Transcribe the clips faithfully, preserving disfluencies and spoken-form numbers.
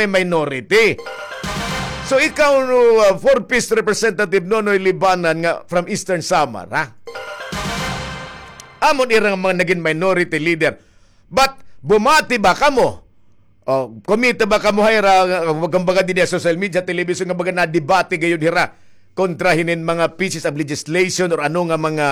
may minority. So ikaw, no, uh, four-fifths Representative Nonoy Libanan nga from Eastern Samar, ha? Amon ira nga mga nagin minority leader. But bumati ba kamo? O, kumita ba kamo hira, uh, kumbaga dinhi ha social media, television, nga baga nadebate gayod hira kontra hinin mga pieces of legislation or ano nga mga,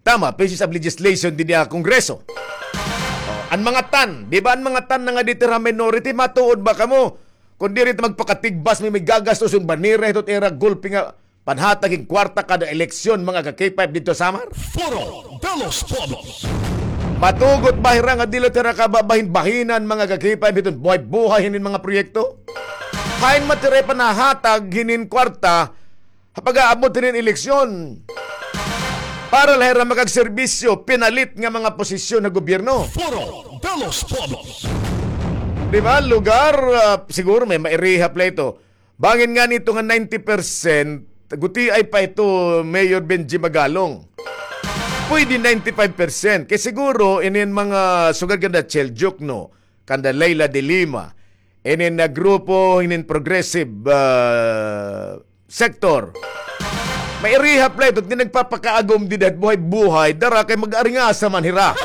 tama, pieces of legislation dinhi ha Kongreso? O, an mga tan, di ba an mga tan na nga diri hira minority, matuod ba kamo? Kon diri ta magpakatigbas, may, may gagastos hin bandera, hito ira gulpi nga panhatag hin kwarta kada eleksyon, mga ka-K five didto ha Samar? Foro de los Pueblos. Matugot ba hira nga diri la hira kababahin-bahinan, mga ka-K five, hiton buhay-buhay hinin mga proyekto? Hain man hira panhahatag hinin kwarta ha pag-aabot hinin eleksyon para la hira makagserbisyo, pinalit nga mga posisyon ha gobyerno? Foro de los Pueblos. Di ba, lugar, ah, siguro may mairihap la ito. Bangin ngani ito nga ninety percent, gutiay pa ito, Mayor Benji Magalong. Pwede ninety-five percent. Kay siguro, inin mga sugad kanda Chel Diokno, kanda Leila de Lima, inin nga grupo, inin progressive, ah, sector, mairihap la ito, nga nagpapakaagom dida hit buhay-buhay, dara kay mag-aringasa man hira.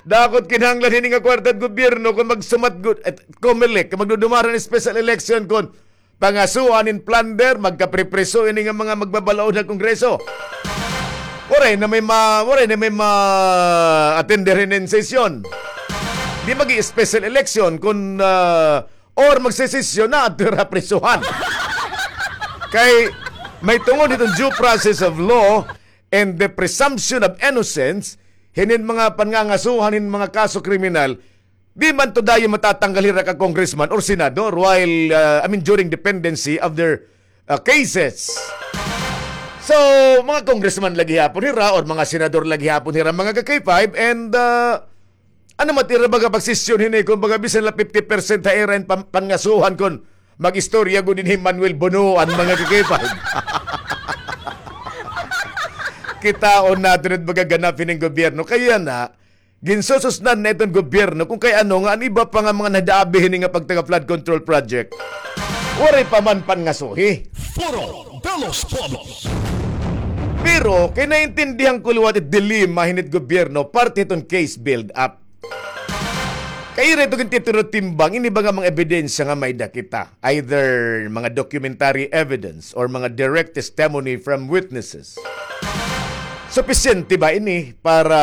Dako it kinahanglan hini nga kwarta hit gobyerno kon magsumat gud, eh, Comelec, kon magdudumara hin special election, kon pangasuhan hin plunder, magkapripriso ini nga mga magbabalaod ha Kongreso. Waray na may ma-, waray na may ma-attender hinin sesyon. Di magi-special election kon, ah, or magsesesyon na adto hira ha prisuhan. Kay may tungod hiton due process of law and the presumption of innocence, hinin mga pangangasuhan hin mga kaso kriminal, di man to dayon matatanggal hira ka congressman or senador while, uh, I mean, during the pendency of their, uh, cases. So, mga congressman la gihapon hira or mga senador la gihapon hira, mga ka-K five, and, uh, ano man it ira baga pagsesyon hini, kon baga bisan la fifty percent ha ira hin pan-, pangasuhan kon mag-istorya gud dinhi hi Manuel Bonoan, mga ka-K five. Kitaon naton it baga ganap hining gobyerno. Kay yana, ginsususnan na iton gobyerno kon kay ano nga an iba pa nga mga nadaabi hini nga pagtaga flood control project, waray pa man pangasuhi. Foro de los Pueblos. Pero kay naintindihan ko liwat it dilema hini hit gobyerno parte hiton case build-up. Kay ira ito gintitimbang ini baga mga ebidensya nga may-ada kita, either mga documentary evidence or mga direct testimony from witnesses. Supisyente ba ini para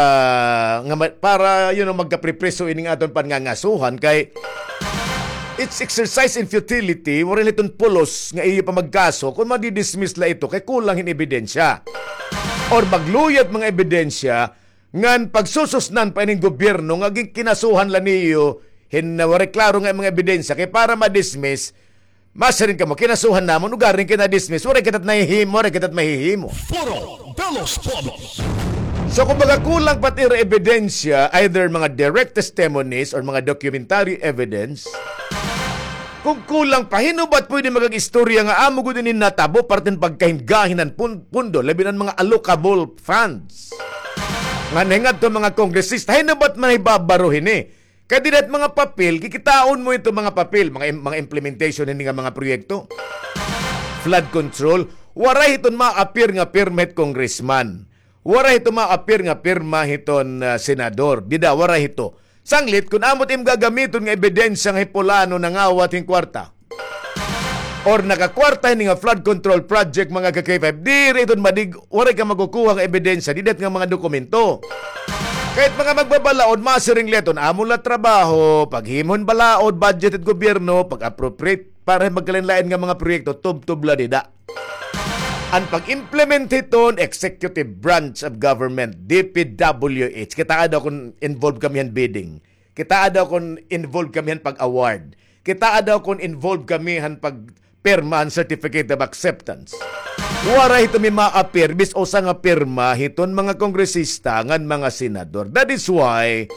nga ma-, para, you know, magkapripriso ining aton pangangasuhan? Kay it's exercise in futility, waray la iton pulos nga iyo pa magkaso kon madi-dismiss la ito kay kulang hin ebidensya or magluyag mga ebidensya ngan pagsususnan pa ining gobyerno nga ginkinasuhan la niyo hin waray klaro nga mga ebidensya, kay para ma-dismiss, masiring kamo, kinasuhan namon, ugaring kay na-dismiss, waray kita nahihimo, waray kita mahihimo. Foro de los Pueblos. So, kumbaga, kulang pa it ira ebidensya, either mga direct testimonies or mga documentary evidence. Kon kulang pa, hin-o ba it pwede mag-istorya nga amo gud ini natabo, parte hin pagkahingahinga han pun-, pundo, labi na an mga allocable funds nga nahingadto han mga kongresista? Hin-o ba it mahibabaro hini? Kay dida hit mga papel, kikitaon mo ito mga papel, mga im-, mga implementation hini nga mga proyekto. Flood control, waray hiton ma-appear nga pirma hit congressman. Waray hiton ma-appear nga pirma hiton, ah, senador. Dida, waray hito. Sanglit, kon amo it im gagamiton nga ebidensya nga hi Pulano nangawat hin kwarta or nakakwarta hini nga flood control project, mga ka-K five, diri iton madig-, waray ka makukuha nga ebidensya dida hit nga mga dokumento. Kay it mga magbabalaod, masiring la iton amo la trabaho, paghimo hin balaod, budget hit gobyerno, pag-appropriate para hin magkalain-lain nga mga proyekto, tubtob la dida. An pag-implement hiton, executive branch of government, D P W H. Kitaa daw kon involved kami han bidding. Kitaa daw kon involved kami han pag-award. Kitaa daw kon involved kami han pagpirma han certificate of acceptance. Waray hito mi ma-appear, bis usa nga pirma hiton mga kongresista ngan mga senador. That is why,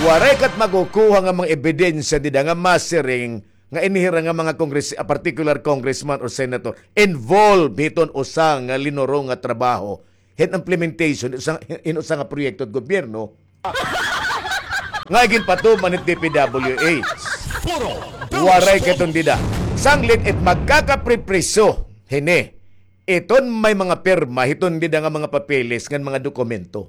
waray kat makukuha nga mga ebidensya dida nga masiring nga ini hira nga mga kongres-, a particular congressman or senator involved hiton usa nga linuro nga trabaho hin implementation, usa, hin usa nga proyekto hit gobyerno. nga iginpatuman it D P W H. Waray ka hiton dida. Sanglit it magkakapripriso hini iton may mga pirma hiton dida nga mga papeles ngan mga dokumento.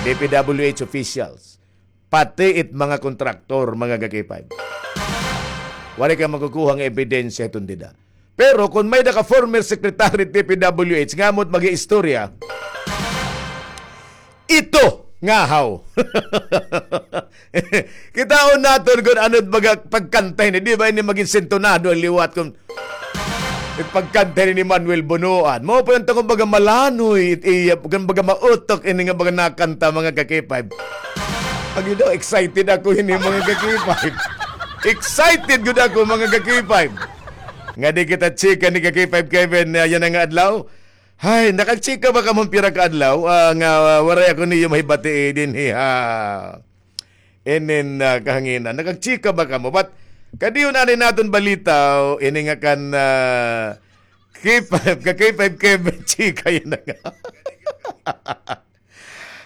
D P W H officials, pati it mga kontraktor, mga ka-K five. Waray ka makukuha nga ebidensya hiton dida. Pero kon may-ada ka former secretary D P W H nga amo it mag-iistorya, ito nga haw. Kitaon naton kon ano it baga pagkanta hini. Di ba ini magin sintonado an liwat kon it pagkanta hini ni Manuel Bonoan? Mao pa unta kon baga malanoy it iya, kon baga mautok ini nga baga nakanta, mga ka-K five. Agi daw, excited ako hini, mga ka-K five. Excited gud ako, mga ka-K five. Nga di kita chika ni ka-K five Kevin, ah, yana nga adlaw. Hay, nakagchika ba kamo pira ka adlaw, ah, nga, ah, waray ako niyo mahibati dinhi ha inin, ah, kahanginan? Nakagchika ba kamo? But kadiyot anay naton balita, o, ini nga kan, ah, K five, ka K five Kevin, chika yana nga.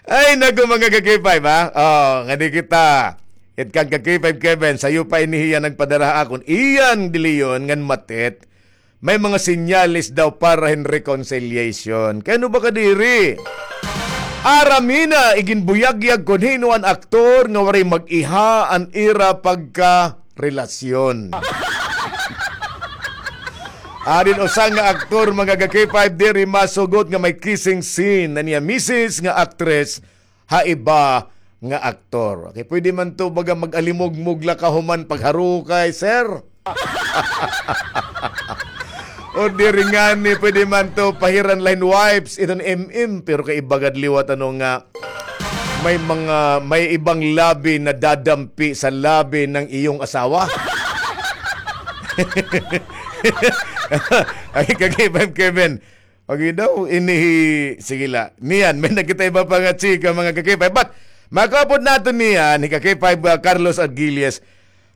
Ay, naku, mga ka-K five, ha? O, ngadi kita. It kan ka-K five Kevin, sayo pa ini hiya nagpadara ha akon. Iyan, Dilion, ngan Matet, may mga senyales daw para hin reconciliation. Kay ano ba kadiri? Aram hina, iginbuyagyag kon hin-o an aktor nga waray mag-iha an ira pagka relasyon. Adin usa nga aktor, mga ka-K five, diri masugot nga may kissing scene an iya misis nga aktres ha iba nga aktor. Okay, pwede man to baga mag-alimugmog la kahuman pagharukay, sir. O diri ngani, pwede man to pahiran la hin wipes iton M M, pero kay iba gad liwat ano nga may mga, may ibang labi na dadampi sa labi ng iyong asawa. Ay, ka-K five Kevin. Okay daw, ini hi-, sige la. Niyan, may-ada kita iba pa nga chika, mga ka-K five. But, makaupod naton niyan, hi ka-K five, ah, Carlos Argilies.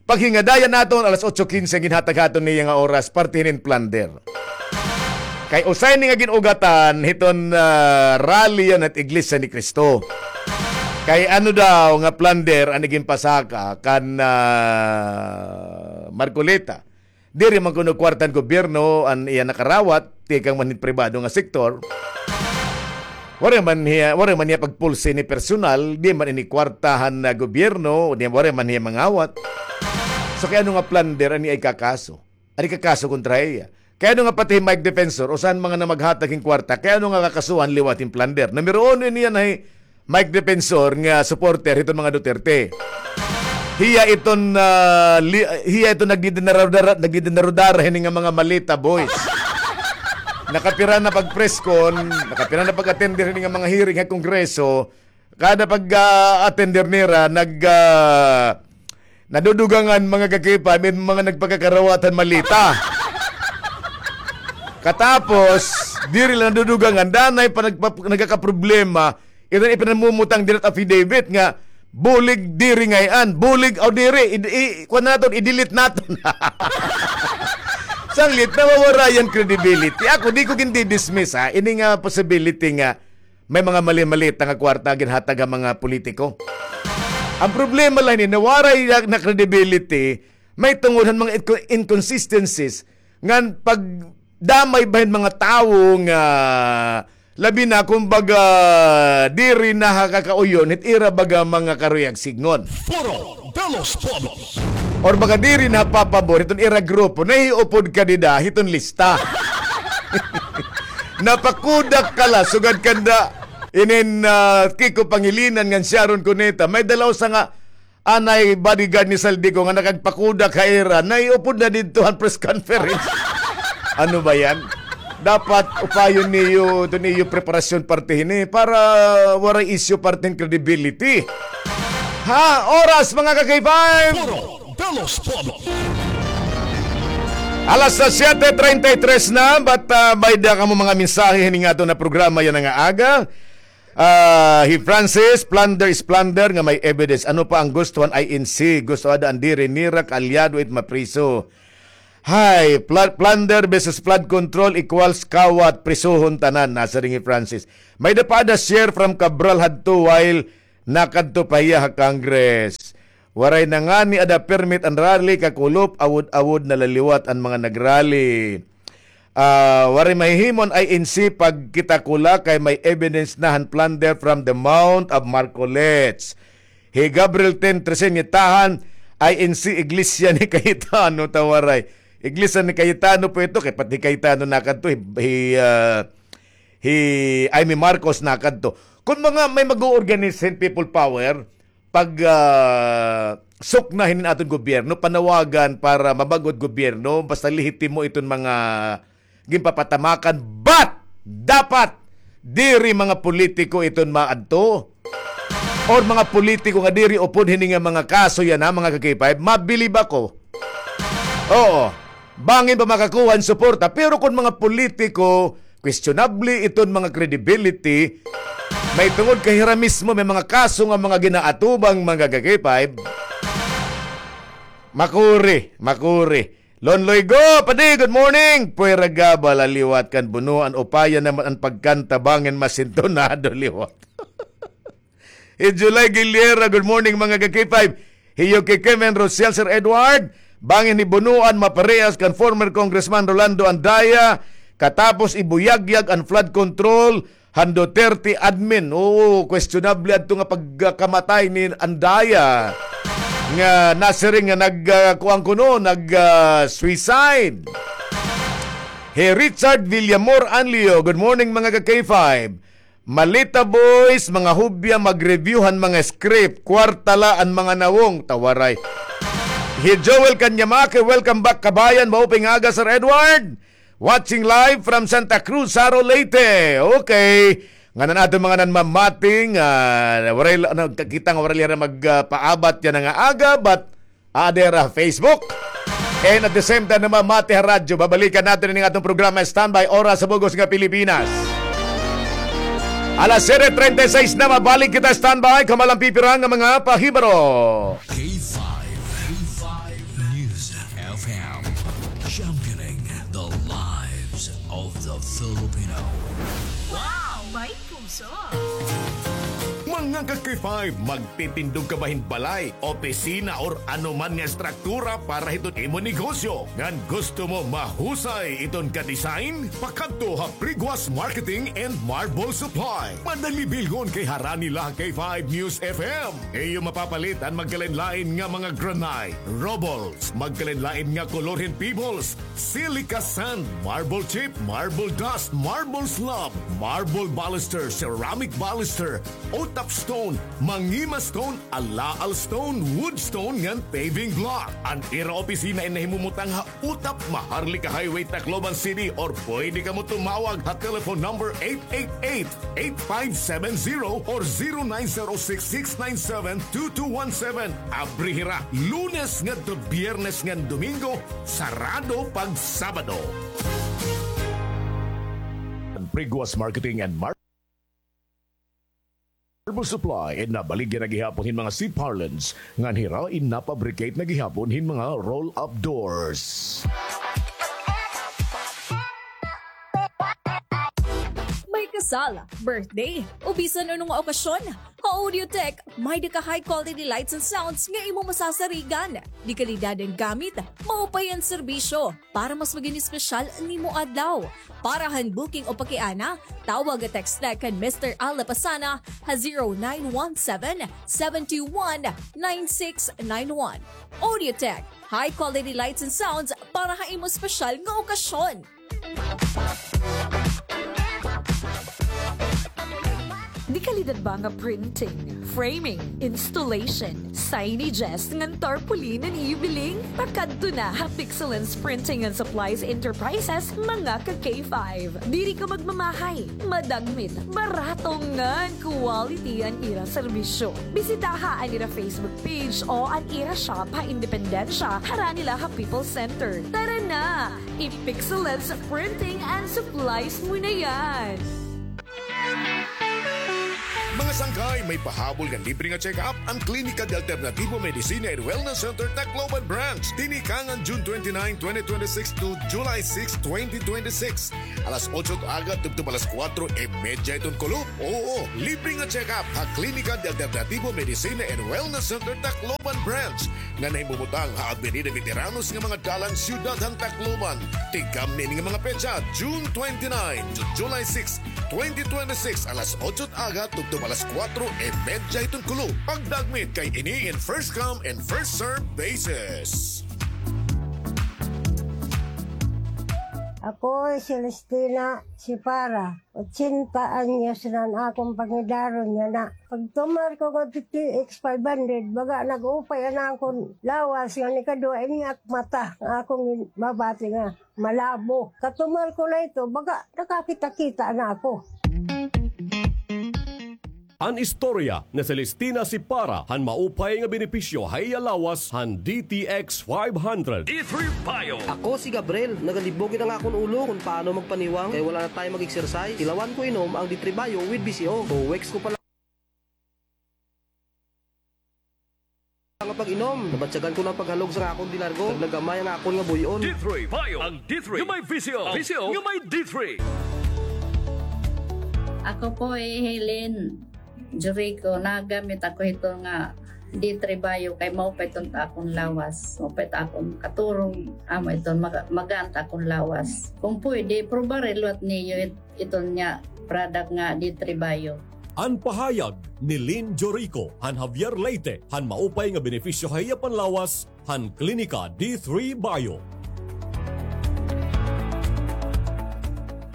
Paghingadayan naton, alas otso quince, ginhatag haton niya nga oras, parte hinin plunder. Kay usa ini nga gin-ugatan hiton, ah, rally yana hit Iglesia ni Cristo. Kay ano daw nga plunder an iginpasaka kan, ah, Marcoleta. Diri man kuno kwarta han gobyerno an iya nakarawat, tikang man hin pribado nga sektor. Waray man hiya, waray man hiya pagpulsi ni personal, di man ini kwarta han, ah, gobyerno, di, waray man hiya mangawat. So, kay ano nga plunder an iya ikakaso? An ikakaso kontra hiya. Kay ano nga pati hi Mike Defensor, usa han mga namaghatag hin kwarta, kay ano nga kakasuhan liwat hin plunder? Numero uno ini yana hi Mike Defensor nga supporter hiton mga Duterte. Hiya iton, ah, li-, hiya iton nagdidinarudara, nagdidinarudara hini nga mga maleta, boys. Nakapira na pag-press con, nakapira na pag-attend hini nga mga hearing ha Kongreso, kada pag, ah, attend nira, nag, ah, nadudugangan mga ka-K five, may mga nagpakakarawat han maleta. Katapos, diri la nadudugangan, danay pa nagpa-, nagkakaproblema, iton ipinamumutang dida hit affidavit nga, bulig diri ngay-an, bulig o diri, i-, i-, kuan naton, i-delete naton. Sanglit, nawawara an credibility. Ako, di ko gindi-dismiss, ha, ini nga possibility nga, may mga mali-maleta nga kwarta ginhatag ha mga politiko. An problema la hini, nawaray na, na credibility, mahitungod han mga inco-, inconsistencies, ngan pagdamay ba hin mga tawo nga, labi na, kumbaga, diri na ha kakauyon, hit ira baga mga karuyag sidngon. Foro de los Pueblos. Or baga diri na papabor hiton ira grupo, nahiupod ka dida hiton lista. Napakudak ka la, sugad kanda inin, ah, Kiko Pangilinan ngan Sharon Cuneta. May-ada la usa nga anay bodyguard ni Zaldy Co nga nakagpakudak ha ira, nahiupod na didto han press conference. Ano ba yan? Dapat upayon niyo, ito niyo preparasyon parte hini para waray issue parte hin credibility. Ha, oras, mga ka-K five. Foro de los Pueblos. Alas siyete treinta y tres na, but, ah, may-ada kamo mga mensahe hini nga aton nga programa yana nga aga. Ah, hi Francis, plunder is plunder nga may evidence. Ano pa an gusto han I N C? Gusto ada an diri nira kaalyado it mapriso. Hay, pla-, plunder versus flood control equals kawat, prisuhon tanan, nasiring hi Francis. May-ada pa ada share from Cabral hadto while nakadto pa hiya ha Congress. Waray na ngani ada permit an rally, kakulop, awod-awod na la liwat an mga nagrally. Ah, waray mahihimo an I N C pagkita ko la kay may evidence na han plunder from the Mount of Marcolets. Hi Gabriel Ten Tresenietahan, I N C Iglesia ni Cayetano, ta waray. Iglesia ni Cayetano po ito, kay pati Cayetano nakadto, hi, hi, ah, hi Imee Marcos nakadto. Kung mga may mag-o-organize hin People Power, pag, ah, sukna hinin aton gobyerno, panawagan para mabag-o it gobyerno, basta lehitimo iton mga ginpapatamakan, but dapat diri mga politiko iton maadto, or mga politiko nga diri upod hini nga mga kaso yana, mga ka-K five, mabilib ako. Oo. Bangin pa makakuha hin suporta. Pero kon mga politiko, questionable iton mga credibility, may tungod kay hira mismo may mga kaso nga mga ginaatubang, mga ka-K five, makuri, makuri. Lonloy Go, padi, good morning. Puwera gabal an liwat kan bunuan, upaya naman an pagkanta, bangin masintonado liwat. Hi July Guilera, good morning, mga ka-K five. Hi Yuki Kemen Rosiel, Sir Edward. Bangin hi bunuan maparehas kan former Congressman Rolando Andaya, katapos ibuyagyag an flood control han Duterte admin. Oo, questionable adto nga pagkamatay ni Andaya. Nga nasiring nga nag, ah, kuan kuno, nag, ah, suicide. Hi Richard Villamor Anlio, good morning, mga ka-K five. Malita Boys, mga hubya, mag-review han mga script. Kwarta la an mga nawong. Ta waray. Hi Joel Kanyamake, welcome back, kabayan. Maupay nga aga, Sir Edward. Watching live from Santa Cruz, Jaro, Leyte. Okay. Ngan an aton mga nanmamati, ah, waray la, nagkakita nga waray la hira mag, ah, paabat yana nga aga, but ada hira ha Facebook. And at the same time, namamati ha radyo. Babalikan naton ini nga aton programa, Standby, Oras sa Bug-os nga Pilipinas. Alas siyete treinta y seis na, mabalik kita, standby. Kamo la an pipira nga mga pahibaro. K five, K five News F M, championing the lives of the Filipino. Wow! May puso! Mga ka-K five, magtitindog ka ba hin balay, opisina, or ano man nga estruktura para hiton imo negosyo? Ngan gusto mo mahusay iton ka-design? Pakadto ha Priguas Marketing and Marble Supply. Madali bilhon kay harani la ha K five News F M. Iyo mapapalit an magkalain-lain nga mga granite, rubbles, magkalain-lain nga kolor hin pebbles, silica sand, marble chip, marble dust, marble slab, marble baluster, ceramic baluster, utap stone, mangima stone, alaal stone, wood stone, ngan paving block. An ira opisina in nahimumutang ha Utap, Maharlika Highway, Tacloban City, or pwede kamo tumawag ha telephone number eight eight eight, eight five seven zero or zero nine zero six, six nine seven, two two one seven. Abri hira Lunes ngadto Biyernes ngan Domingo, sarado pag Sabado. An Priguas Marketing and Mar- Herbal Supply, in nabaligya na gihapon hin mga sea parlance, ngan hira in napabricate na gihapon hin mga roll-up doors. May kasal, birthday, o bisan ano nga okasyon, ha Audiotech, may-da ka high quality lights and sounds nga imo masasarigan. De kalidad an gamit, maupay an serbisyo. Para mas magin espesyal an imo adlaw. Para han booking o pakiana, tawag o text la kan Mister Al Lapasana ha zero nine one seven, seven two one, nine six nine one. Audiotech, high quality lights and sounds para ha imo espesyal nga okasyon. De kalidad ba nga printing, framing, installation, signages, ngan tarpaulin an iyo biling? Pakadto na ha Pixelance Printing and Supplies Enterprises, mga ka-K five. Diri ka magmamahay, madagmit, barato ngan quality an ira serbisyo. Bisitaha an ira Facebook page o an ira shop ha Independencia, harani la ha People's Center. Tara na! I-Pixelance Printing and Supplies mo na yan! Mga sangkay, may pahabol nga libre nga check-up an Klinika de Alternativo Medicina and Wellness Center Tacloban Branch. Tinikangan June twenty-nine, twenty twenty-six to July six, twenty twenty-six. Alas otso aga tubtob alas kuwatro y medya iton kulop. Oo, libre nga check-up ha Klinika de Alternativo Medicina and Wellness Center Tacloban Branch nga nahimumutang ha Avenida Veteranos nga mga dalan, siyudad han Tacloban. Tikang ini nga mga petsa, June twenty-nine to July six, twenty twenty-six, alas otso aga tubtob alas kuwatro y medya iton kulop. Pagdagmit kay ini in first come and first serve basis. Ako hi Celestina Sipara, ochenta anyos na an akon pangidaron yana. Pagtumar ko ngadto D T X five hundred, baga nag-upay an akon lawas, ngan ikaduha, ini ak mata, nga akon gin-, mabati nga malabo. Katumar ko na ito, baga nakakita-kita na ako. An istorya ni Celestina Sipara han maupay nga benepisyo ha iya lawas han D T X five hundred. D three Bio. Ako si Gabriel, nagalibog gid an akon ulo kon paano magpaniwang kay wala na tayo mag-exercise. Tilawan ko inom ang D three Bio with B C O. Two weeks ko pa lang nga pag-inom, nabatyagan ko na an paghalog sa akon de largo. Naglagamay an akon nga buy-on. D three Bio. Ang D three nga may V C O. V C O nga may D three. Ako po hi Helen Jurico. Nagamit ako hito nga D three Bio kay maupay iton ha akon lawas. Maupay it akon katurog. Amo iton maga-, magaan it akon lawas. Kung pwede, prubaha liwat niyo it-, iton nga product nga D three Bio. An pahayag ni Lynn Jorico han Javier, Leyte, han maupay nga benepisyo ha iya panlawas han Klinika D three Bio.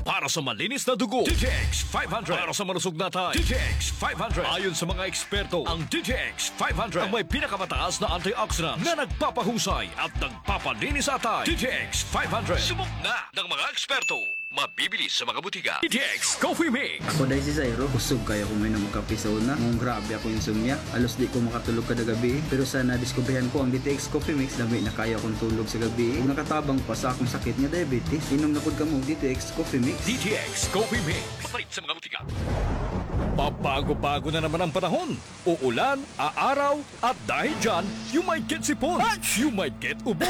Para sa malinis na dugo, D T X five hundred. Para sa malusog na atay, D T X five hundred. Ayon sa mga eksperto, ang D T X five hundred ang may pinakamataas na antioxidants na nagpapahusay at nagpapalinis sa atay. D T X five hundred. Subok na ng mga eksperto. Mabibili sa mga butika. D T X Coffee Mix. Ako dahi si Zairo. Kusog kaayo ako mainom og kape sa una. Ngan grabe ako insomnia. Halos di ko makatulog kada gabii. Pero sa nadiskubrihan ko ang D T X Coffee Mix, lami na kaayo akon tulog sa gabii. Ug nakatabang pa sa akon sakit nga diabetes. Inom na pod kamo og D T X Coffee Mix. D T X Coffee Mix. Mapalit sa mga butika. Pabago-bago na naman ang panahon. Uulan, aaraw, at dahil dyan, you might get sipon, you might get ubo,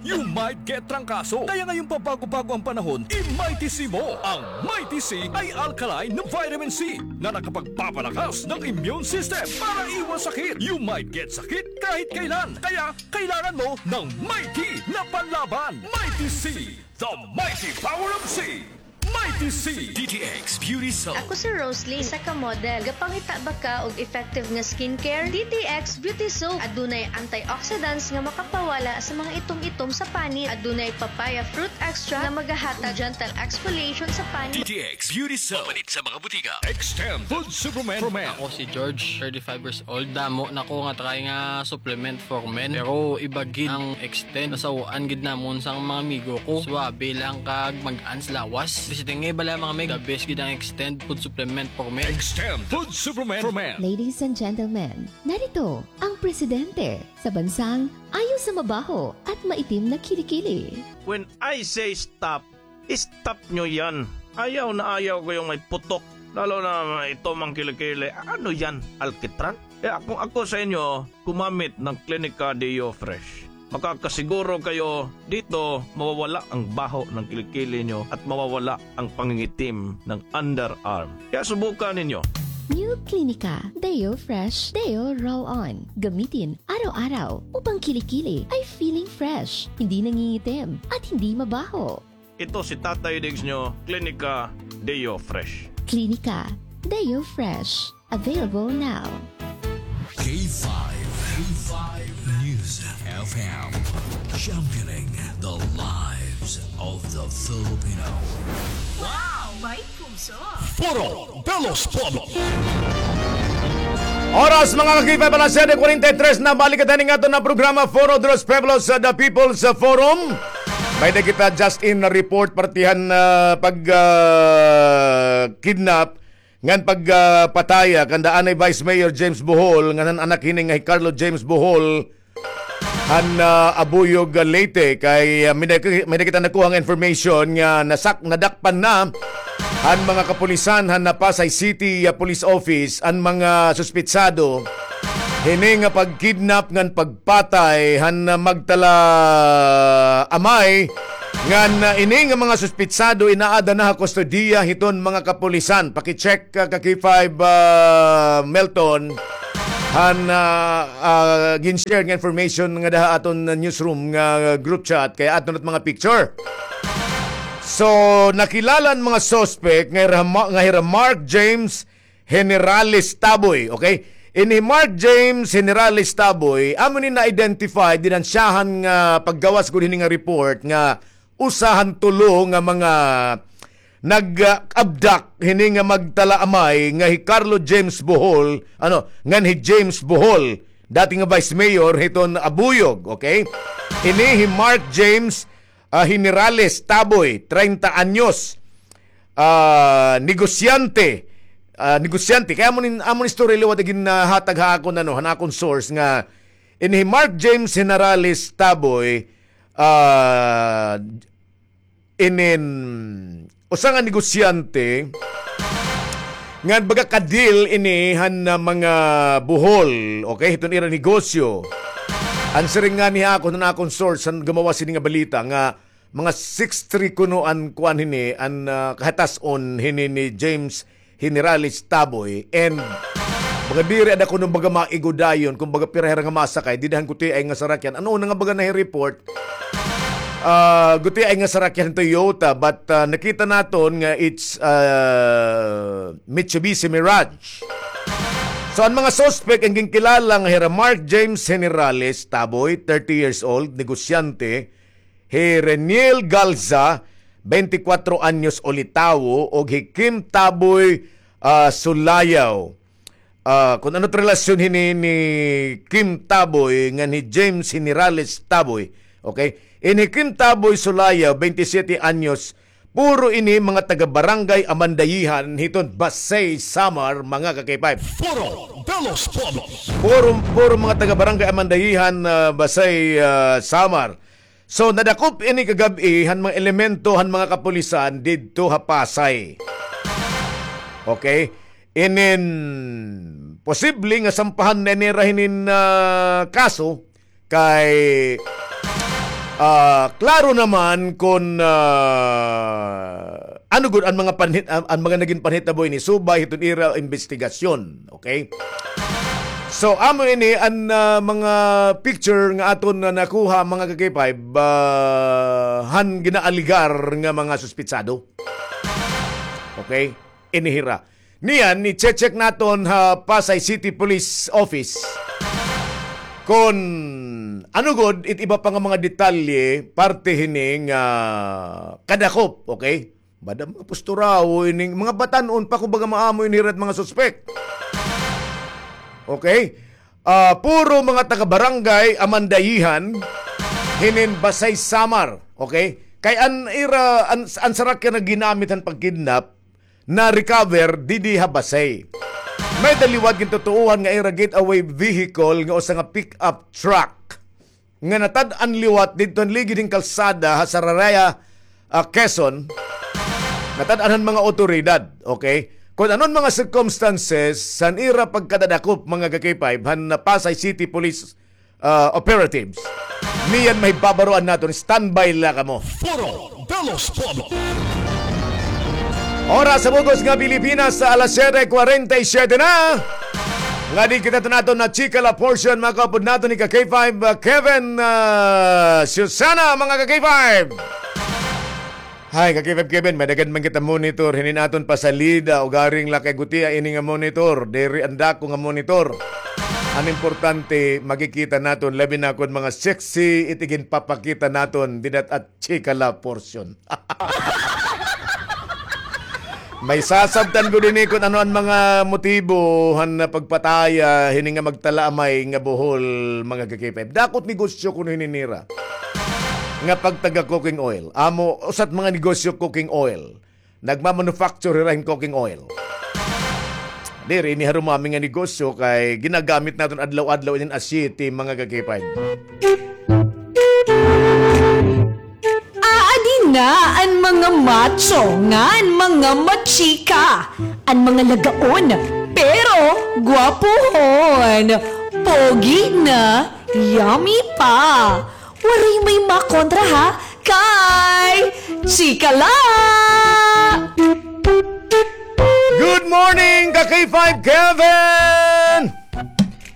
you might get trangkaso. Kaya ngayong pabago-bago ang panahon, i-Mighty C mo. Ang Mighty C ay alkaline na vitamin C na nakapagpapalakas ng immune system para iwas sakit. You might get sakit kahit kailan. Kaya kailangan mo ng Mighty na panlaban. Mighty C, the mighty power of C. Mighty C. D T X Beauty Soap. Ako si Rosalie, isa ka model. Gapangita ba ka og effective nga skincare? D T X Beauty Soap. Adunay antioxidants nga makapawala sa mga itom-itom sa panit. Adunay papaya fruit extract nga magahatag gentle exfoliation sa panit. D T X Beauty Soap. Mapalit sa mga butika. Extend Food Supplement for Men. Ako si George, thirty-five years old. Damo na ko nga try nga supplement for men. Pero iba gid ang Extend. Nasaw-an gid namon sang mga amigo ko. Suabe lang kag mag-ans lawas. Visiting nga iba lang, mga mig. The best gid ang Extend food supplement for men. Extend food supplement for men. Ladies and gentlemen, narito ang presidente sa bansang ayaw sa mabaho at maitim na kilikili. When I say stop, stop nyo yan. Ayaw na ayaw ko yung may putok. Lalo na may itom ang kilikili. Ano yan? Alkitran? Eh, kung ako sa inyo, gumamit ng Clinica Deo Fresh. Makakasiguro kayo dito mawawala ang baho ng kilikili nyo at mawawala ang pangingitim ng underarm. Kaya subukan ninyo. New Clinica Deo Fresh Deo Roll On. Gamitin araw-araw upang kilikili ay feeling fresh, hindi nangingitim, at hindi mabaho. Ito si Tatay Diggs nyo, Clinica Deo Fresh. Clinica Deo Fresh. Available now. K five, K five News F M, championing the lives of the Filipino. Wow! May puso! Foro de los Pueblos. Oras, mga ka-K five, alas siyete kwarenta y tres na. Balik kita ning aton na programa, Foro de los Pueblos, sa The People's Forum. May-ada kita just in na report, partihan, ah, pag, ah, kidnap, ngan pag, ah, pataya kan daan ni Vice Mayor James Bohol, ngan han anak hini nga hi Carlo James Bohol, han, ah, Abuyog, ah, Leyte, kay, ah, may-ada, may-ada kita nakuha nga information nga nasak-, nadakpan na han mga kapulisan han Pasay City, ah, Police Office an mga suspitsado hini nga pagkidnap ngan pagpatay han, ah, magtala amay ngan, ah, ini nga mga suspitsado inaada na ha kustodiya hiton mga kapulisan. Paki-check, ah, ka K five, ah, Melton, han, ah, ah, gin-share nga information ngada ha aton newsroom nga group chat kay aton at mga picture. So, nakilala an mga suspect nga hira Ma-, nga hira Mark James Generales Taboy, okay? Ini Mark James Generales Taboy, amo ni na-identify, dinansyahan nga paggawas gud hini nga report nga usa han tulo nga mga nag-abduct hini nga magtalaamay nga hi Carlo James Bohol, ano, ngan hi James Bohol, dati nga vice mayor hiton Abuyog, okay? Ini hi Mark James, ah, Generales Taboy, treinta anyos. Ah, negosyante. Ah, negosyante. Kay amo ni, amo ni story liwat gin, ah, hatag ha akon, ano, han akon source nga ini hi Mark James Generales Taboy, ah, inin usa nga negosyante nga baga ka-deal ini han, ah, mga Bohol, okay, hiton ira negosyo. An siring ngani ha akon, han akon source, han gumawas hini nga balita nga mga six three kuno an kuan hini, an, ah, kahatas-on hini ni James Generales Taboy. And baga diri ada kuno baga maigo dayon kon baga pira hira nga masakay dida han gutiay nga sarakyan. Ano una nga baga nahi-report? Ah, gutiay nga sarakyan Toyota, but, ah, nakita naton nga it's, ah, Mitsubishi Mirage. So, an mga suspect, an ginkilala nga hira Mark James Generales Taboy, thirty years old, negosyante, hi Reniel Galza, twenty-four anyos, ulitawo, ug hi Kim Taboy, ah, Sulayaw. Ah, kon ano it relasyon hini ni Kim Taboy ngan hi James Generales Taboy. Okay? Ini Kim Taboy Sulayaw, twenty-seven anyos, puro ini mga taga-barangay Amandayihan hiton Basey, Samar, mga ka-K five. Foro de los Pueblos. Puro, puro mga taga-barangay Amandayihan, ah, Basey, ah, Samar. So, nadakop ini kagab-i han mga elemento han mga kapulisan didto ha Pasay. Okay? Inin posible nga sampahan na nira hinin, ah, kaso kay, ah, klaro naman kon, ah, ano gud an mga panhit-, an, an mga nagin panhitabo ini subay hiton ira imbestigasyon. Okay? So, amo ini an, ah, mga picture nga aton na nakuha, mga ka-K five, ah, han ginaaligar nga mga suspitsado. Okay? Ini hira. Niyan, i-check naton ha Pasay City Police Office kon ano gud it iba pa nga mga detalye parte hini nga kadakop, okay? Bada mga pusturawo ining mga batan-on pa, kumbaga, maamo ini hira it mga suspek. Okay? Ah, puro mga taga-barangay Amandayihan, hinin Basey, Samar. Okay? Kay an ira, an, an sarakyan nga ginamit han pagkidnap, na-recover didi ha Basey. May-ada liwat gintutuohan nga ira getaway vehicle nga usa nga pick-up truck nga natad-an liwat didto han ligid hin kalsada ha Sarareya, ah, Quezon. Natad-an han mga awtoridad, okay? Kon ano an mga circumstances han ira pagkadadakop, mga ka-K five, han Pasay City Police, ah, operatives. Niyan mahibabaroan naton, standby la kamo. Foro de los Pueblos. Oras sa bug-os nga Pilipinas, sa alas siyete kwarenta y siyete na. Nga di kita naton na chika la portion, mga kaupod naton ni ka K five, ah, Kevin, ah, Susana, mga ka K five. Hay, ka K five Kevin, may daghan man kita monitor, hinin aton pasalida, ugaring la kay gutiay ini nga monitor, diri an dako nga monitor. An importante, makikita naton, labi na kon mga sexy it iginpapakita naton dida ha chika la portion. May sasabtan gud ini kon ano an mga motibo han pagpataya hini nga magtalaamay nga buhol, mga ka K five. Dako it negosyo kuno hini nira nga pagtaga cooking oil. Amo, usa it mga negosyo cooking oil. Nagmamanufacture hira hin cooking oil. Diri ini harumami nga negosyo kay ginagamit naton adlaw-adlaw inin aseite, mga ka K five. Aadi Na an mga macho ngan mga machika, an mga lagaon, pero gwapohon, pogi na, yummy pa. Waray may makontra ha, kay chika la! Good morning, ka K five Kevin!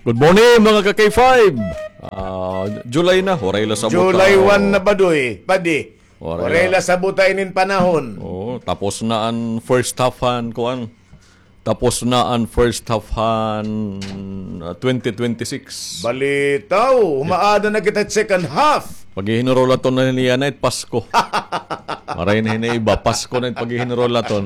Good morning, mga ka K five! Ah, July na, waray la sabot, July ah, one na ba, Doy? Padi. Waray la sabot inin panahon. Oo, tapos na an first half han, kuan. Tapos na an first half han, ah, twenty twenty-six. Balitaw, humaada na kita second half. Paghihinrulaton na niya na it Pasko. Maray na hini iba, Pasko na it paghihinrulaton.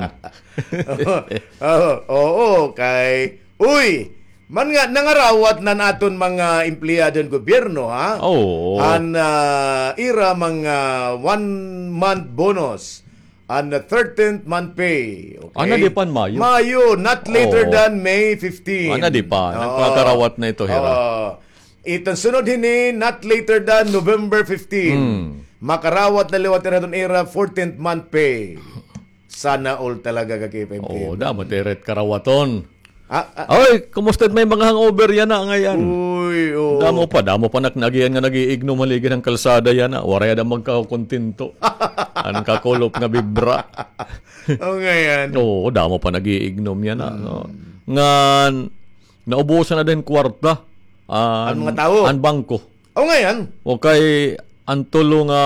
Oo, oo, kay, uy, man nga, nangarawat na an aton mga empleyado han gobyerno, ha? Oo. An, ah, ira mga one month bonus, an thirteenth month pay. Okay? Ana, di pa an Mayo? Mayo, not later Oo. than May fifteen. Ana, di pa. Oo. Nagpakarawat na ito, hira. Oo. Iton sunod hini, not later than November fifteen. Hmm. Makarawat na liwat ira hiton ira fourteenth month pay. Sana all talaga, ka K five K. Oo, damo it ira it karawaton. Ah, ah. Oy, kumusta it may mga hangover yana ngay-an? Uy, oo. Damo pa, damo pa nak-, nag-iignom haligi han kalsada yana. Waray ada magkakontento. An kakulop nga bibra. Oo, ngay-an. Oo, damo pa nag-iignom yana, no? Hmm. Ngan, naubusan na hin kwarta. An mga tawo? An bangko. Oo, ngay-an. O kay, an tulo nga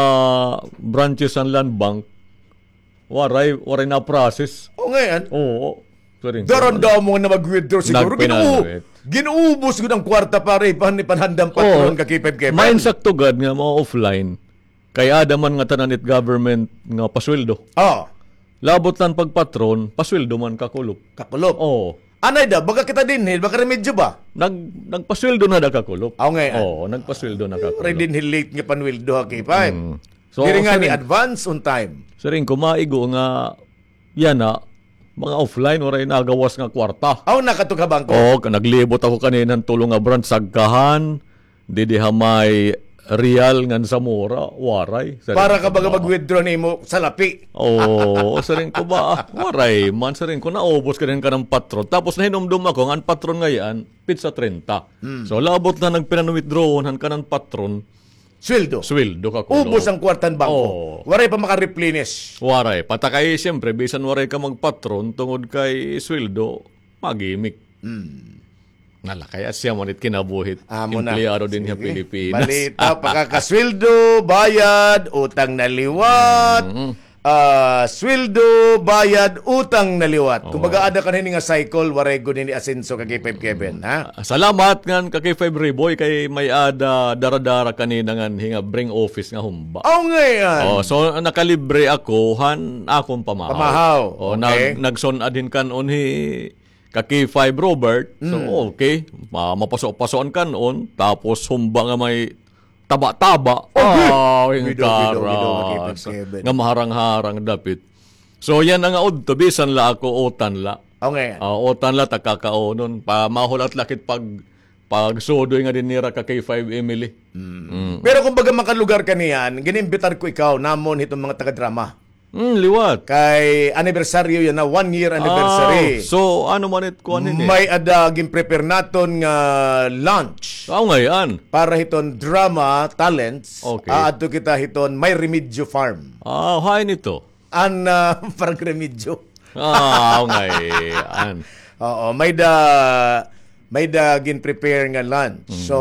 branches han Land Bank, Waray, waray na-process. Oo, ngay-an. Oo. Sorry, sorry. Daran-daran nga mag-withdraw siguro. Nagpinanawit. Gin-u-, gin-ubos gud an kwarta para ipan-, ipanhandam patron, ka K five Kevin. Maain sakto gad nga ma-offline. Kay ada man ngatanan it government nga pasweldo. Ah. Labot la an pagpatron, pasweldo man kakulop. Kakulop. Oo. Anay da, baga kita dinhi, baga remedyo ba? Nag-, nagpasweldo na da kakulop. Oo, ngay-an. Oo, nagpasweldo na kakulop. Waray dinhi late nga panweldo, ha, K five. Mm. So, diri ngani siring, advance on time. Siring ko, maigo nga yana, mga offline, waray nagawas nga kwarta. Aw, nakadto ka bangko? Oo, ka-, naglibot ako kanina han tulo nga branch, Sagkahan, didi ha may Real ngan Zamora, waray. Siring ko, para ka baga mag-withdraw nimo salapi. Oo, siring ko ba, ah, waray man, siring ko, naubos ka din ka ng patron. Tapos nahinumdom ako nga an patron ngay-an, petsa treinta. Hmm. So, labot na nagpinan-withdrawon han kanan patron, Sweldo. Sweldo kakulop. Ubos an kwarta han bangko. Oo. Waray pa maka-replenish. Waray. Pata kay, siyempre, bisan waray ka magpatron, tungod kay sweldo, magimik. Mm. Nala, kay asya man it kinabuhi hit empleyado dinhi ha Pilipinas. Balita, pakakasweldo, bayad, utang na liwat. Mm. Ah, sweldo, bayad, utang na liwat. Oo. Kumbaga, ada ka na hini nga cycle, waray gud hini asenso, ka K five Kevin, ha? Ah, salamat ngan ka K five Riboy kay may-ada dara-dara kanina nganhi nga bring office nga humba. Aw, ngay-an. Oh, so, nakalibre ako han akon pamahaw. Pamahaw, okay. Oh, nag-, nagsun-ad hin kan-on hi ka K five Robert. So, okay. Ma-, mapaso-paso an kan-on. Tapos, humba nga may taba-taba. Okay. Ah, bida, bida, bida, Kevin. Nga maharang-harang dapit. So, yana nga udto, bisan la ako, utan la. Okay. Ah, utan la, ta kakaunon. Pa, mahulat la kit pag, pagsudoy nga din nira ka K five Emily. Mm. Mm. Pero kumbaga makalugar ka niyan, gin-imbitar ko ikaw, namon hiton mga taga-drama. Mm, liwat. Kay anibersaryo yana, one year anniversary. Ah, so, ano man it kuan ini? May-ada gin-prepare naton nga lunch. Aw, ngay-an. Para hiton drama talents, okay, aadto kita hiton May Remedyo Farm. Ah, hain ito? An, ah, parang remedyo. Ah, aw, ngay-an. Oo, may-ada, may-ada gin-prepare nga lunch. Mm. So,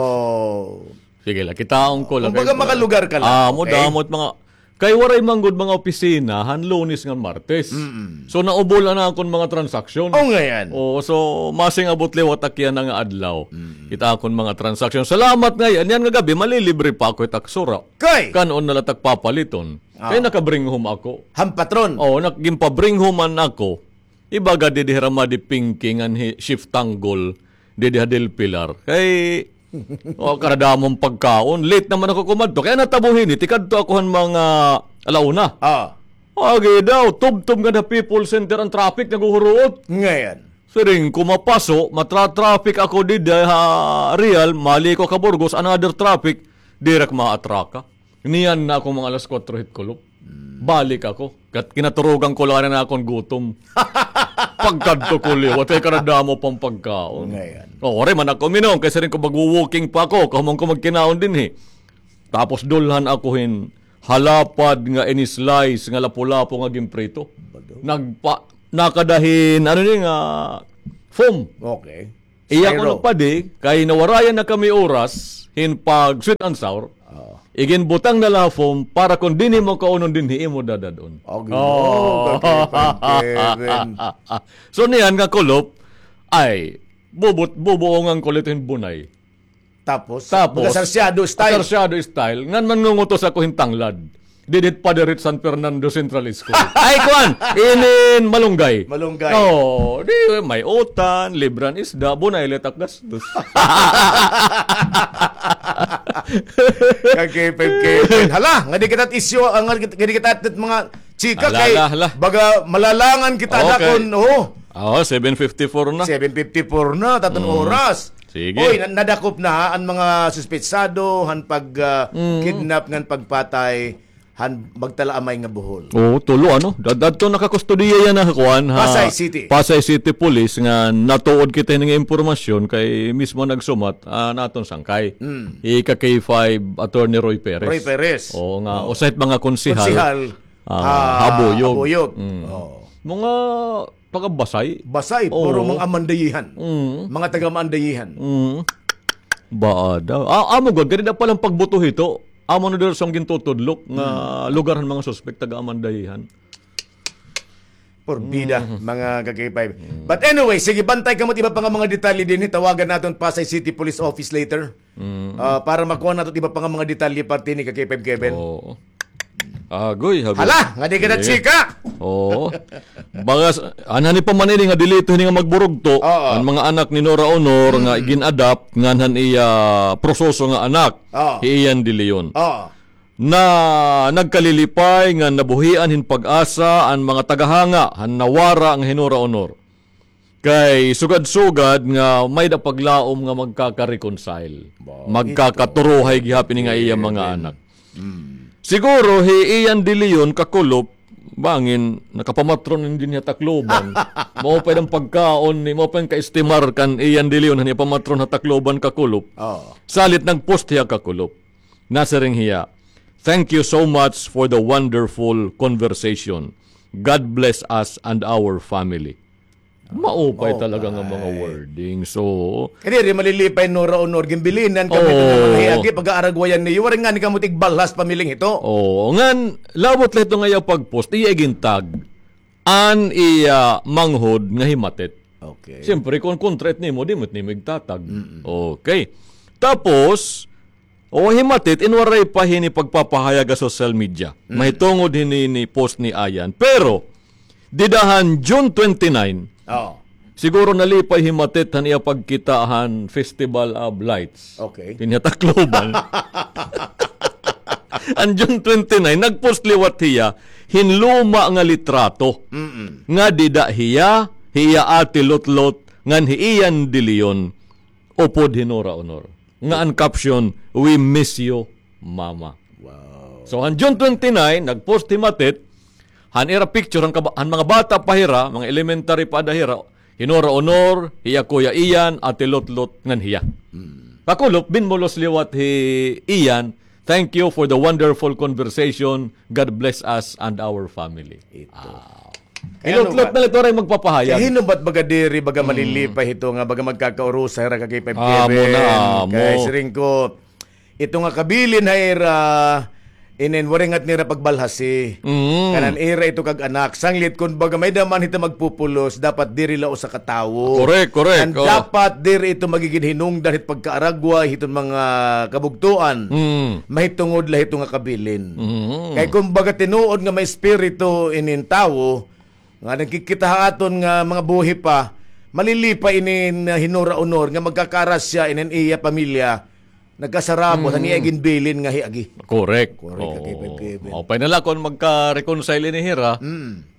sige la, kitaon ko la. Kumbaga, kay makalugar ka la. Ah, amo, okay? Damo it mga, kay waray man gud mga opisina han Lunes ngan Martes. Mm-mm. So, naubol an akon mga transaksyon. Oh, ngay-an. Oo, so, masing-abot liwat ak yana nga adlaw. Mm. It akon mga transaksyon. Salamat ngay-an. Yana nga gab-i, malilibre pa ako hit ak sura. Kay? Kan-on na la it ak papaliton. Ah. Kay naka-bring home ako. Han patron? Oo, nak-, ginpa-bring home man ako. Iba gad didi hi Ramadi Pinky ngan hi Chief Tanggol didi ha Del Pilar. Kay, o, kadadamon pagkaon. Late naman ako kumadto. Kay natabo hini, tikadto ako han mga ala una. Ah. Agi daw, tubtob ngada ha People's Center an traffic, naghuhuruot. Ngay-an. Siring ko, mapaso, matra-traffic ako didi ha Real, maliko ha Burgos, another traffic, diri ak maatraka. Niyan na ako mga alas kuwatro hit kulop. Mm. Balik ako. Kat-, kinaturogan ko la an akon gutom. Pagkadto ko liwat, kay kadadamo pa an pagkaon. Ngayon. O, waray man ako uminom, kay siring ko, magwo-walking pa ako, kahuman ko magkinaon dinhi. Tapos dulhan ako hin halapad nga in-slice nga lapu-lapu nga ginprito. Nagpa-, nakada hin, ano ni nga, foam. Okay. Iya ko nagpadi, kay nawarayan na kami oras hin pag sweet and sour. Oo. Iginbutang na la ha foam para kon dinhi mo kaunon dinhi imo dadad-on. Oh, Ginoo, kakipag Kevin. So niyan nga kulop, ay, bubut-, bubuongan ko la ito hin bunay. Tapos, tapos, baga sarsyado style. Sarsyado style. Ngan manngungutos ako hin tanglad. Didit pa diri San Fernando Central School. Ay, kuan! Inin Malunggay. Malunggay. Oo, di, may utan, libran isda, bunay la it ak gastos. Kag K five Kevin. Hala, nga di kita isyu, ah, nga di kita mga chika. Hala, kay, hala, hala. Baga malalangan kita. Okay. Nakon, oh. Oo, seven fifty-four na. Seven fifty-four na, taton oras. Sige. Oy, na-, nadakop na an mga suspetsado han pag, ah, kidnap ngan pagpatay han magtalaamay nga buhol. Oo, tulo, ano? Dad-, dadto nakakustodiya yana ha kuan, ha Pasay City. Pasay City Police nga natuod kita hini nga impormasyon kay mismo nagsumat, ah, an aton sangkay. Mm. Ika K five Attorney Roy Perez. Roy Perez. Oo nga, usa hit mga konsehal. Konsehal. Ah, ha Abuyog. Abuyog. Mm. Oo. Mga taga Basay. Basay, puro mga Amandayihan. Mm. Mga taga Amandayihan. Mm. Baada. Ah, amo gud, kani da palang pagbuto hito. Amo na diri sa gintutudlok nga lugar han mga suspek, taga Amandayihan. Porbida, mga ka-K five. But anyway, sige, bantay kamo it iba pa nga mga detalye dinhi. Tawagan naton Pasay City Police Office later. Mm. Ah, para makuha nato it iba pa nga mga detalye parte ni ka-K five Kevin. Oo. Agoy, habi. Hala, nga di ka na chika. Oo. Bagas, anhani pa man ini nga delito hini nga magburugto, an mga anak ni Nora Honor nga gin-adopt, ngan han iya proseso nga anak, hi Ian De Leon. Oo. Na nagkalilipay nga nabuhian hin pag-asa an mga tagahanga han nawara nga hi Nora Honor. Kay sugad-sugad nga may-ada paglaom nga magkaka-reconcile. Magkakaturohay gihap ini nga iya mga anak. Siguro hi Ian De Leon kakulop, bangin nakapamatron ini dinhi ha Tacloban. Maupay an pagkaon ni, maupay an kaestimar kan Ian De Leon han iya pamatron ha Tacloban kakulop. Oo. Salit nagpost hiya kakulop. Nasiring hiya, "Thank you so much for the wonderful conversation. God bless us and our family." Maupay talaga nga mga wording. So, kadiri malilipay Nora Honor, ginbilinan kami ito nga mga hiagi, pag-aaragwayan niyo, waray ngani kamo tigbalhas pamiling hito. Oo, ngan, labot la ito nga iya pag-post, iya igintag, an iya manghod nga himatit. Okay. Siyempre, kon kontra it nimo, di mo it nimo igtatag. Okay. Tapos, o, himatit, in waray pa hini pagpapahayag ha social media. Mahitungod hini ni post ni Ian. Pero, dida han June twenty-nine, siguro nalipay himatit han iya pagkita han Festival of Lights. Okay. Dinhi ha Tacloban. An June twenty-nine, nagpost liwat hiya hin luma nga litrato. Nga dida hiya, hi iya Ate Lotlot, ngan hi Ian De Leon, upod hi Nora Honor. Nga an caption, "We miss you, Mama." Wow. So, han June twenty-nine, nagpost himatit, han ira picture, han, kaba-, han mga bata pa hira, mga elementary pa ada hira, hi Nora Honor, hiya Kuya Ian, Ate Lotlot, ngan hiya. Kakulop, binmulos liwat hi Ian, "Thank you for the wonderful conversation. God bless us and our family." Ito. Kay hinutlot na la ito, waray magpapahayag. Kay hinubat baga diri, baga malilipay hito nga, baga magkakaurusa hira ka K five Kevin. Amo na, amo. Kay siring ko, ito nga kabilin ha ira, inin waray ngat nira pagbalhasi. Kanan ira ito kag anak. Sanglit, kun baga may-ada man hito magpupulos, dapat diri la usa ka tawo. Correct, correct. Ngan dapat diri ito magigin hinungdan hit pagkaaragway hiton mga kabugtoan. Mahitungod la hito nga kabilin. Kay kun baga tinuod nga may espiritu inin tawo, nga nagkikita ha aton nga mga buhi pa, malilipay inin hi Nora Honor nga magkakarasya inin iya pamilya, nagkasarabot han iya ginbilin nga hiagi. Correct. Correct, oo. Maupay na la kon magka-reconcile ini hira,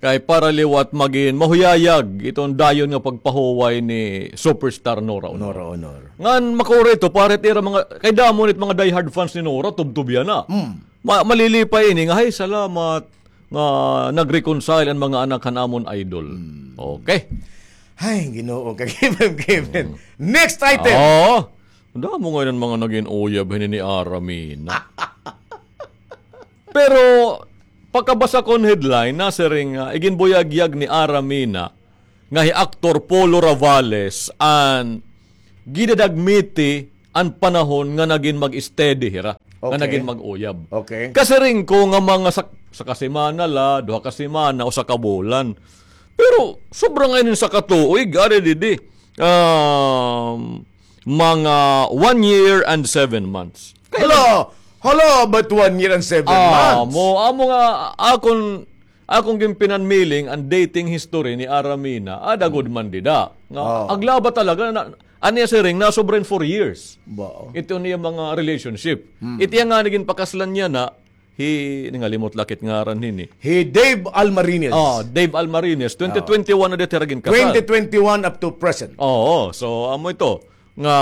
kay para liwat magin mahuyayag iton dayon nga pagpahuway ni superstar Nora Honor. Nora Honor. Ngan makuri ito, para it ira mga, kay damo nit mga diehard fans ni Nora, tubtob yana. Ma-, malilipay ini nga, "Hay, salamat." nga nag-reconcile an mga anak han amon idol. Okay. Ay, Ginoo, kag Kevin, Kevin. Next item. Oo. Damo ngay-an mga nagin uyab hini ni Aramina. Pero, pakabasa kon headline, nasiring nga, iginbuyagyag ni Aramina, nga hi Aktor Polo Ravales, an gidadagmiti an panahon nga nagin mag-steady hira, nga Okay. nagin mag-uyab. Okay. Kasiring ko nga mga sa, sa kasemana la, duha ka semana o sa kabulan. Pero sobra ngay-an sa katuig, ari didi. Um, mga one year and seven months. Hala! Hala, but one year and seven Ah, months? mo, amo nga, akon, akon ginpinanmiling an dating history ni Aramina, ada gud man dida. Nga, Ah. aglaba talaga, na, an iya siring, nasobra hin four years. Ba? Ito niya mga relationship. Hmm. Ito iya nga nagin pakaslan niya na, hi, ningalimot la kit ngaran hini. Hi Dave Almarines. Oh, Dave Almarines, twenty twenty-one na dito ira ginkasal. Twenty twenty-one up to present. Oo, so, amo ito. Nga,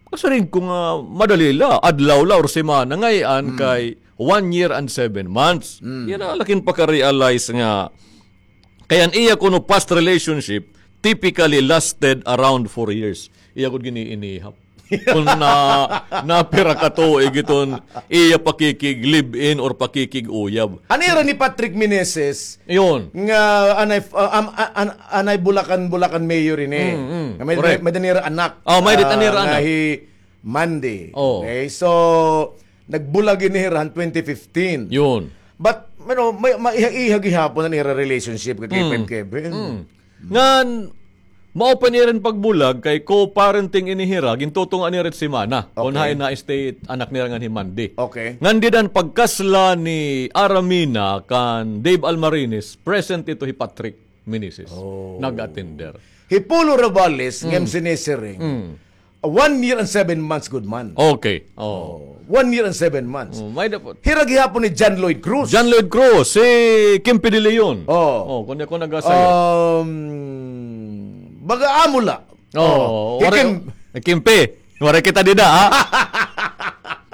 kasiring ko nga madali la, adlaw la or semana, ngay-an kay one year and seven months. Yana la kin paka-realize nga, kay an iya kuno past relationship, typically lasted around four years. Iya gud gin-iinihap. Kon na, napira ka tuig iton iya pakikig-live-in or pakikig-uyab. An ira ni Patrick Meneses, Iyon. nga anay, uh, am-, a-, an-, anay Bulacan, Bulacan mayor ini. Mm, mm. Nga may, Correct. may, may-ada nira anak. Oh, may-ada Ah, nira nga anak. hi Mandy. Oh. Okay, so, nagbulag ini hira han twenty fifteen. Yun. But, you know, may, maiha-iha gihapon an ira relationship kay Mm. Kevin. Mm. Ngan, mao pa nira pagbulag kay co-parenting ini hira, gintutunga nira semana. Kon Okay. hain na-stay anak nira ngan hi Mandy. Okay. Ngan dida an pagkasla ni Aramina kan Dave Almarines, present ito hi Patrick Meneses. Oh. Nag-attender. Hi Polo Ravales, Mm. nga M C ni Siring. Mm. One year and seven months, good man. Okay. Oh. Oh, one year and seven months. Oh, may dapat. Hira gihapon ni John Lloyd Cruz. John Lloyd Cruz, si Kimpi de Leon. Oh. Oh, kunya ko nagasayo. Um, baga amo la. Oh, Oh, waray, Kim- Kimpi. Waray kita dida, ha?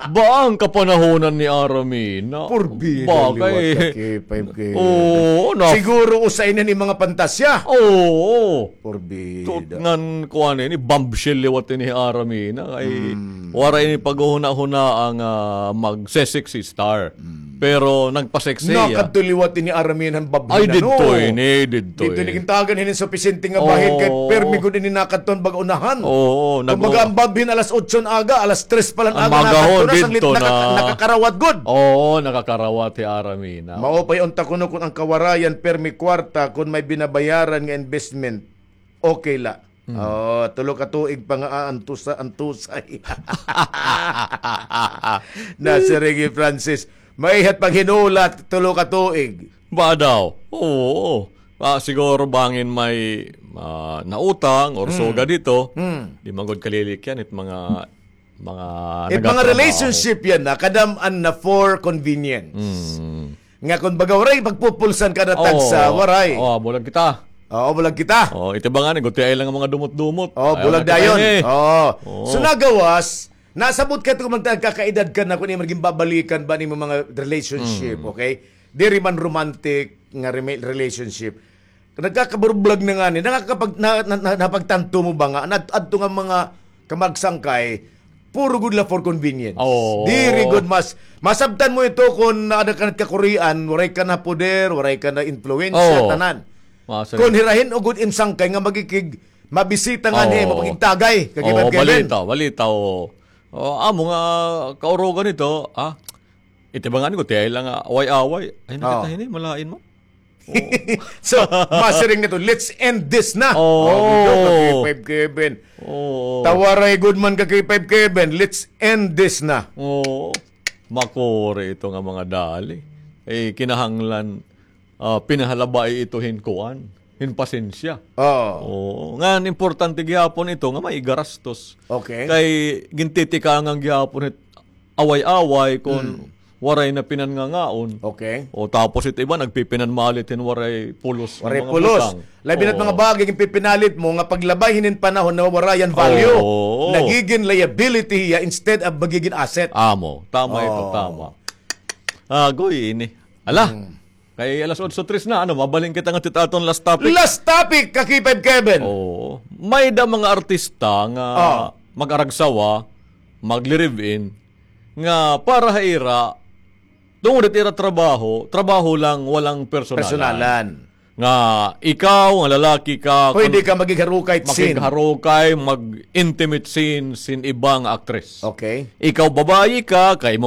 Ba an kapanahonan ni Aramina? Purbida, Ba, liwat kay ka, K five K. Oo, na- Siguro usa ini mga pantasya. Oo. Purbida. Tut ngan kuan ini, bombshell liwat ini Aramina. Ay, Hmm. waray ini paghuhuna-huna an, ah, mag-sexy star. Hmm. Pero nagpa-sexy, ah. Nakadto liwat ini Aramina han babhin, Ay, didto ini, didto Didto ini. ini gintagan hini supisyente nga bahin kay Oo. permi gud ini nakadto han bag-unahan. Oo, nag- Kumbaga, an babhin alas otso an aga, alas tres pa la an An aga magahon, nakadto na, sanglit didto naka-, na. nakakarawat gud. Oo, nakakarawat hi Aramina. Mao pa unta kuno kon an kawarayan, permi kwarta, kon may binabayaran nga investment, okay la. Mm. Oh, tulo ka tuig pa nga, ah, antusa-, antusay. Nasiring hi Francis, maiha it paghinulat, tulo ka tuig. Ba daw? Oo. Ah, siguro bangin may, ah, nautang or Mm. sugad ito, Mm. di man gud kalilikyan it mga, mga It mga nagatrabaho. relationship yana, kadam-an na for convenience. Mm. Nga kon baga waray pagpupulsan kada Oo. tagsa, waray. Oo, bulag kita. Oo, bulag kita. Oo, ito ba nga ni, gutiay lang an mga dumot-dumot. Oo, Ayaw bulag na kita dayon. ini. Oo. Oo. So, nagawas, nasabot ka ito, magkakaedad ka na, kung imo ginbabalikan ba nimo mga relationship, Mm. okay? Diri man romantic nga rema-, relationship. Nagkakaburbulag na ngani, nakakapag-, na, na, na, napagtanto mo ba nga, an ad-, adto nga mga kamagsangkay, puro gud la for convenience. Oo. Diri gud mas, masabtan mo ito kon ada ka na kakurian, waray ka na poder, waray ka na impluwensya, Oo. tanan. Masaya. Kon hira hin-o gud im sangkay nga magikig-, mabisita nga Oo. nimo, pagkigtagay, kag Oo, Kevin. balita, balita, oo. Oo, amo nga, kaurugan ito, ah, ito ba nga ni, gutiay lang nga, away-away. Ay, Oo. nakita ini, malain mo. So, masiring na ito, "Let's end this na." Oo. Oh, video ka, Oo. K five Kevin. Oo. Tawaray gud man ka, K five Kevin. "Let's end this na." Oo. Makuri ito nga mga dali. Eh, kinahanglan, ah, pinahalabai ito hin kuan, hin pasensya. Oo. Oo. Ngan, importante gihapon ito nga may igarastos. Okay. Kay gintitikangan gihapon it away-away kon Mm. waray na pinanngangaon. Okay. O tapos it iba nagpipinanmalit hin waray pulos hin Waray mga pulos. butang. Labi na't Oo. mga bagay nga pipinalit mo nga paglabay hinin panahon nawawara yan value. Oo. Nagigin liability hiya instead of magigin asset. Amo. Tama ito, Oo. tama. Agoy, ini. Ala. Mm. Kay alas otso tres na, ano, mabalhin kita ngadto hit aton last topic. Last topic, ka K five Kevin. Oo. May-ada mga artista nga Oh. mag-aragsawa, magli-live-in, nga para ha ira, tungod hit ira trabaho, trabaho lang, walang personalan. Personalan. Nga ikaw, nga lalaki ka, Pwede kun ka magigharukay sin. Makigharukay, mag-intimate scene sin iba nga actress. Okay. Ikaw, babayi ka, kay imo